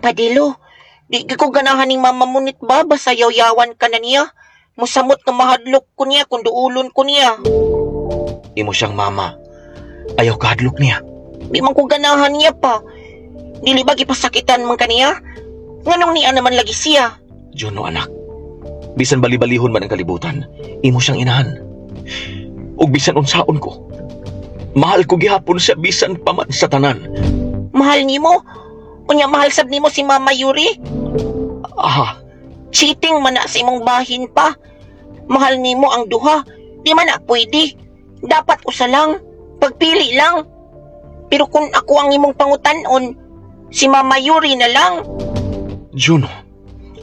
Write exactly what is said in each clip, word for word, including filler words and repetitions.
Padelo, di gyud ko ganahan ning Mama Munit ba? Basta yaw-yawan ka na niya. Musamot nga mahadlok ko niya kung duulon ko niya. Imo siyang mama. Ayaw kahadlok niya. Di man ko ganahan niya pa. Dili ba gipasakitan man kaniya? Nganong niya naman lagi siya? Juno, anak. Bisan bali-balihon man ang kalibutan, imo siyang inahan. Ug bisan unsaon ko, mahal ko gihapon siya bisan pa man sa tanan. Mahal nimo? Unya, mahal sab nimo si Mama Yuri? Ah, Cheating man na sa imong bahin pa. Mahal nimo ang duha. Di man na pwede. Dapat usa lang. Pagpili lang. Pero kung ako ang imong pangutanon, si Mama Yuri na lang. Juno.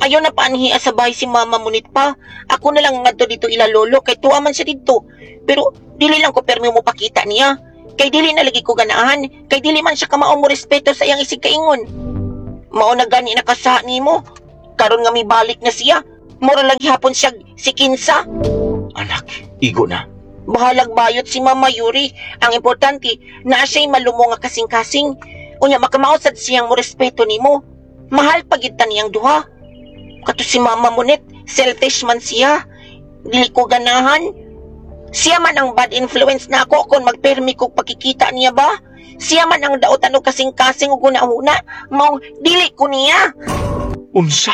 Ayaw na paanhia sa bahay si Mama Munit pa. Ako na lang ngadto dito ila lolo kay tuwa man siya dito. Pero dili lang ko permi mo pakita niya. Kay dili na lagi ko ganahan. Kay dili man siya kamao mo respeto sa iyang isig kaingon. Mao na gani nakasa nimo. Karon nga mibalik na siya. Mura lang gihapon siya si Kinsa. Anak, igo na. Bahalag bayot si Mama Yuri. Ang importante, naa siya'y malumo nga kasing-kasing. Unya, makamao sad siyang mo respeto nimo. Mahal pa gyud ta niyang duha. Kato si Mama Munit, selfish man siya. Dili ko ganahan. Siya man ang bad influence na ako kung magpermi kog pagkikita niya ba? Siya man ang dautan og kasing-kasing ug huna-huna. Maong dili ko niya. Unsa?